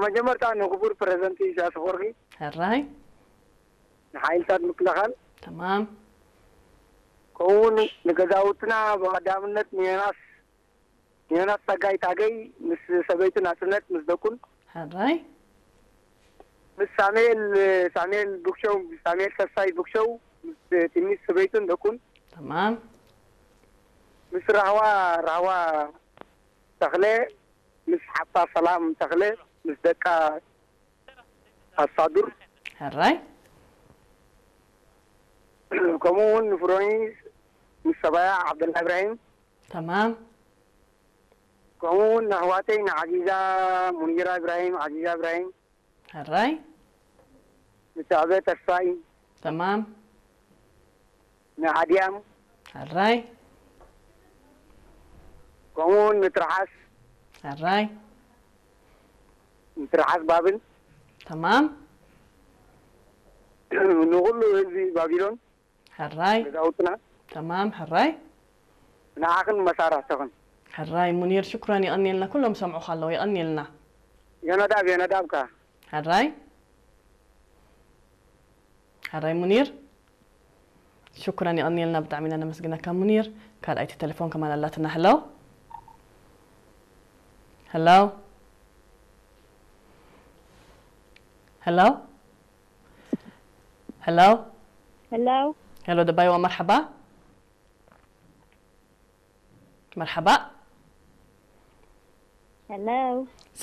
መጀመርታ ንክቡር ፕሬዝደንት ኢሳያስ ኣፈወርቂ፣ ሕራይ ንሓይልታት ምክልኻል፣ ተማም ከምኡውን ንገዛውትና ብቐዳምነት ንዮናስ ንዮናስ ጸጋይ ታገይ ምስ ሰበይቱ ናጽነት ምስ ደቁን ሕራይ ምስ ሳሙኤል ሳሙኤል ብክሸው ሳሙኤል ተስፋይ ብክሸው ምስ ትንሽ ሰበይቱን ደቁን ተማም ምስ ራህዋ ራህዋ ተኽለ ምስ ሓፍታ ሰላም ተኽለ ምስ ደቃ ኣሳዱር ሕራይ ከምኡ እውን ንፍሮኒ ምስ ሰባያ ዓብደላ ኢብራሂም ተማም ከምኡ እውን ንኣሕዋተይ ንዓዚዛ ሙኒራ ኢብራሂም ዓዚዛ ኢብራሂም ሕራይ ንሳዕበ ተስፋይ ተማም ንኣድያም ሕራይ ከምኡ እውን ንትርሓስ ሕራይ ንትርሓስ ባብል ተማም ንኩሉ ህዝቢ ባቢሎን ሕራይ ገዛውትና ተማም ሕራይ ንዓኽን መሳራሕትኽን ሕራይ ሙኒር ሽኩራን የቐንየልና ኩሎም ሰምዑኻ ኣለዉ የቐንየልና የነዳብ የነዳብካ ሕራይ ሕራይ ሙኒር ሽኩራን የቐንየልና ብጣዕሚ ኢና ነመስግነካ ሙኒር ካልኣይቲ ቴሌፎን ከማን ኣላትና hello hello hello hello Hello. hello ደባይዋ መርሓባ መርሓባ Hello.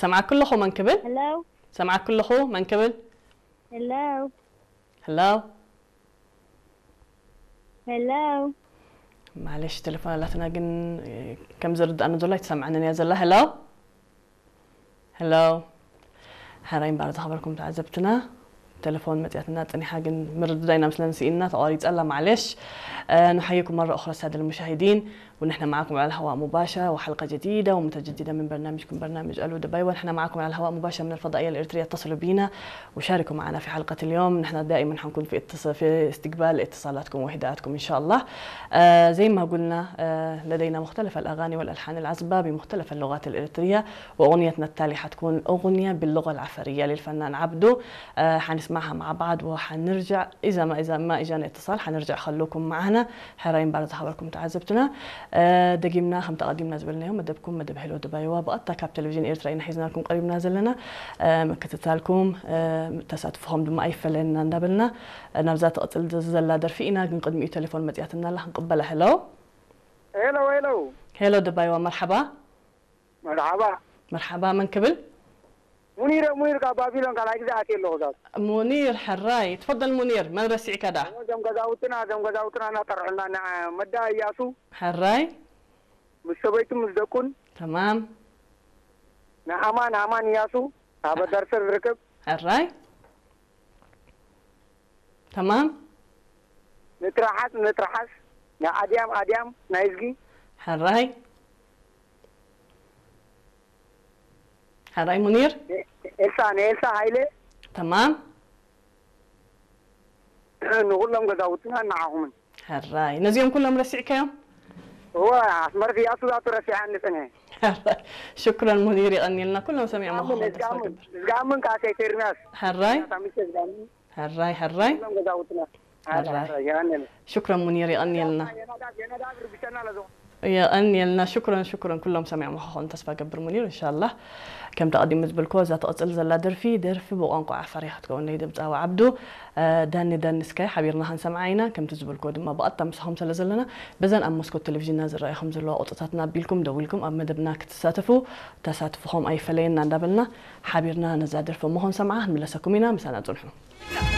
ሰምዓክ ኣለኹ መን ክብል Hello. ሰምዓክ ኣለኹ መን ክብል Hello. hello Hello. ማለሽ ቴሌፎን ኣላትና ግን ከም ዝርዳእኒ ዘሎ ኣይትሰምዓንን እያ ዘላ hello hello ሕራይ እምበኣር ዝኸበርኩም ተዓዘብትና ቴሌፎን መፅያትና ፀኒሓ ግን ምርድዳእና ምስለን ስኢንና ተቋሪፀላ ማለሽ نحييكم مرة أخرى السادة المشاهدين ونحن معكم على الهواء مباشرة وحلقة جديدة ومتجددة من برنامجكم برنامج ألو دبي ونحن معكم على الهواء مباشرة من الفضائية الإريترية اتصلوا بينا وشاركوا معنا في حلقة اليوم نحن دائما حنكون في اتص... في استقبال اتصالاتكم وهداءاتكم إن شاء الله آه زي ما قلنا آه لدينا مختلف الأغاني والألحان العذبة بمختلف اللغات الإريترية وأغنيتنا التالية حتكون أغنية باللغة العفرية للفنان عبدو آه حنسمعها مع بعض وحنرجع إذا ما إذا ما إجانا اتصال حنرجع خلوكم معنا ሕራይ እምበኣር ዝኸበርኩም ተዓዘብትና ደጊምና ከም ተቐዲምና ዝበልናዮ መደብኩም መደብ ሄሎ ድባይዋ ብቐጥታ ካብ ቴሌቪዥን ኤርትራ ኢና ሒዝናልኩም ቀሪብና ዘለና ምክትታልኩም ተሳትፎኹም ድማ ኣይፈለየና እንዳበልና ናብዛ ትቕፅል ዘላ ደርፊ ኢና ግን ቅድሚኡ ቴሌፎን መፅያትና ኣላ ክንቅበላ ሄሎ ሄሎ ሄሎ ሄሎ ድባይዋ መርሓባ መርሓባ መርሓባ መን ክብል ሙኒር ሙኒር ካብ ባቢሎን ካልኣይ ግዜ ኣትየ ኣለኹ ዛት ሙኒር ሕራይ ትፈደል ሙኒር መን ረሲዕካ ዳ እዞም ገዛውትና እዞም ገዛውትና እናጠርሑና ንዓ መዳ እያሱ ሕራይ ምስ ሰበይቱ ምስ ደቁን ተማም ንኣማን ኣማን እያሱ ኣብ ኣዳርሰር ዝርከብ ሕራይ ተማም ንትርሓስ ንትርሓስ ንኣድያም ኣድያም ናይ እዝጊ ሕራይ ሕራይ ሙኒር ኤልሳ ንኤልሳ ሃይለ ተማም ንኩሎም ገዛውትና ንዓኹምን ሕራይ ነዚኦም ኩሎም ረሲዕካዮም እወ ኣስመረት እያሱ ዛቱ ረሲዓኒ ጽንሐ ሕራይ ሽክረን ሙኒር የቐንየልና ኩሎም ሰሚዖም ምዃኖም ተስፋ እዝጋምን ገብር እዝጋምን ከኣ ሴፌርናስ ሕራይ ሳሚቸ እዝጋምን ሕራይ ሕራይ ኩሎም ገዛውትና ሕራይ የቐንየልና ሽክረን ሙኒር የቐንየልና የናዳብ የናዳብ ርብሸና ለዞ የቐንየልና ሽክረን ሽክረን ኩሎም ሰሚዖም ምዃኖም ተስፋ ገብር ሙኒር እንሻላ ከምቲ ኣቐዲሙ ዝበልኮ እዛ ትቕፅል ዘላ ደርፊ ደርፊ ብቋንቋ ዓፋር እያ ክትከውን ናይ ድምፃዊ ዓብዱ ዳኒ ዳኒ እስካይ ሓቢርና ክንሰምዓ ኢና ከምቲ ዝበልኮ ድማ ብቐጥታ ምሳኹም ስለ ዘለና በዘን ኣብ መስኮት ቴሌቪዥንና ዝረኣዩ ከም ዘለዋ ቁፅርታትና ኣቢልኩም ደዊልኩም ኣብ መደብና ክትሳተፉ ተሳትፍኹም ኣይፈለየና እንዳበልና ሓቢርና ነዛ ደርፊ እሞ ክንሰምዓ ክንምለሰኩም ኢና ምሳና ፅንሑ